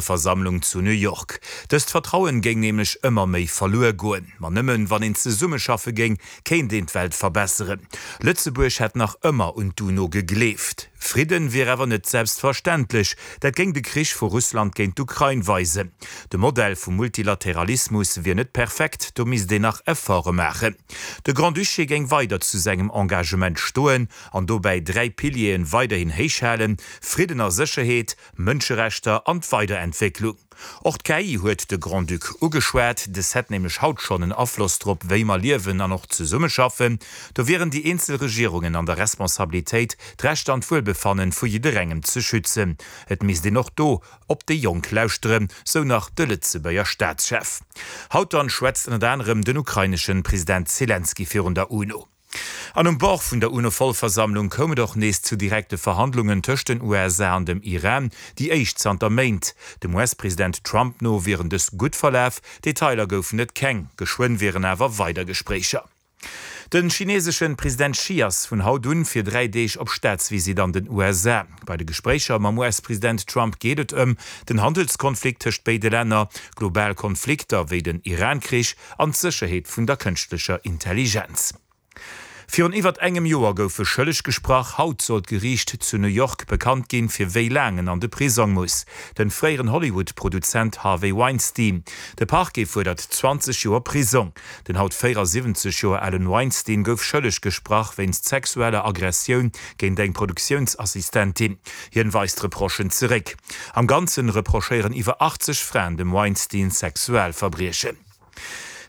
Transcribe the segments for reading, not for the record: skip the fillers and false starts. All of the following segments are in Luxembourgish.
Versammlung zu New York. Dëst Vertrauen géing nämlech ëmmer méi verluer goen. Ma nëmmen wann een zesummeschaffe géing, kéint een d'Welt verbesseren. Lëtzebuerg hätt nach ëmmer un d'UNO gegleeft. Fridden wier awer net selbstverständlech. Dat géing de Krich vu Russland géint d'Ukrain weisen. De Modell vum Multilateralismus wier net perfekt, do misst een nach Efforte maachen. De Grand-Duché géing weider zu sengem Engagement stoen an dobäi 3 Pilieren weiderhin héich halen, Fridden a Sécherheet, Mënscherechter an d'Weiderentwécklung. Och d'KI huet de Grand-Duc ugeschwat. Dës hätt nämlech haut schonn en Afloss drop, wéi mer liewen an och zesummeschaffen. Do wieren déi eenzel Regierungen an der Responsabilitéit, d'Rechter an d'Wuelbefannen vu jidderengem ze schützen. Et misst een och do op déi Jonk lauschteren, sou nach de Lëtzebuerger Staatschef. Haut dann schwätzt ënnert anerem den ukraineschen President Zelensky virun der UNO. An um Bord vun der UNO-Vollversammlung koum et och nees zu direkte Verhandlungen tëscht den USA an dem Iran, déi éischt zanter Méint. Dem US-President Trump no wieren dës gutt verlaf, Detailer goufen et keng, geschwënn wieren awer weider Gespréicher. De chineeseschen President Xi ass vun haut un fir 3 Deeg op Staatsvisitt an den USA. Bei de Gespréicher mam US-President Trump geet et ëm den Handelskonflikt tëscht béide Länner, global Konflikter wéi den Iran-Krich an d'Sécherheet vun der kënschtlecher Intelligenz. Virun iwwert engem Joer gouf e schëlleg gesprach. Haut soll d'Geriicht zu New York bekannt ginn, fir wéi laang en an de Prisong muss. Den fréieren Hollywood-Produzent Harvey Weinstein. De Parquet fuerdert 20 Joer Prisong. Den haut 74 Joer alen Weinstein gouf schëlleg gesprach wéinst sexueller Aggressioun géint eng Produktiounsassistentin. Hien weist d'Reprochen zeréck. Am Ganzen reprochéieren iwwer 80 Fraen dem Weinstein Sexualverbriechen.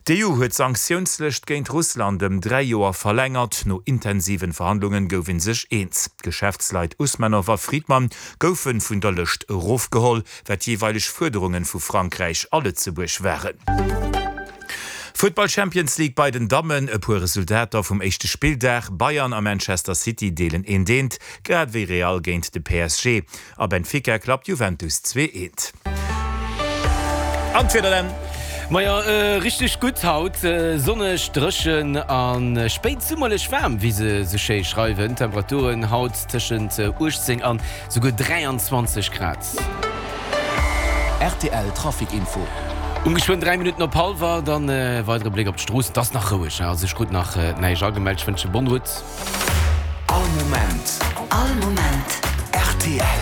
D'EU huet d'Sanktiounslëscht géint Russland ëm 3 Joer verlängert. No intensiven Verhandlungen gouf een sech eens. D'Geschäftsleit Usmanow a Friedman goufen vun der Lëscht erofgeholl, wat jeeweileg Fuerderungen vu Frankräich a Lëtzebuerg waren. Futtball Champions League bei den Dammen, e puer Resultater vum éischte Spilldag, Bayern a Manchester City deelen eent eent, grad ewéi Real géint de PSG. A Benfica klappt Juventus 2 eent. An d'Wieder dann? Majo, richteg gutt haut, sonneg, dréchen a spéitsummerlech waarm, wéi se sou schéi schreiwen. Temperaturen haut tëschent 18 an souguer 23 Grad. Rtl Trafic Info. Um geschwënn 3 Minutten op hallwer, dann e weidere Bléck op d'Stroossen. Et ass nach roueg, also ech krut nach näischt agemellt. Ech wënsche bonne route. All Moment. All Moment. Rtl.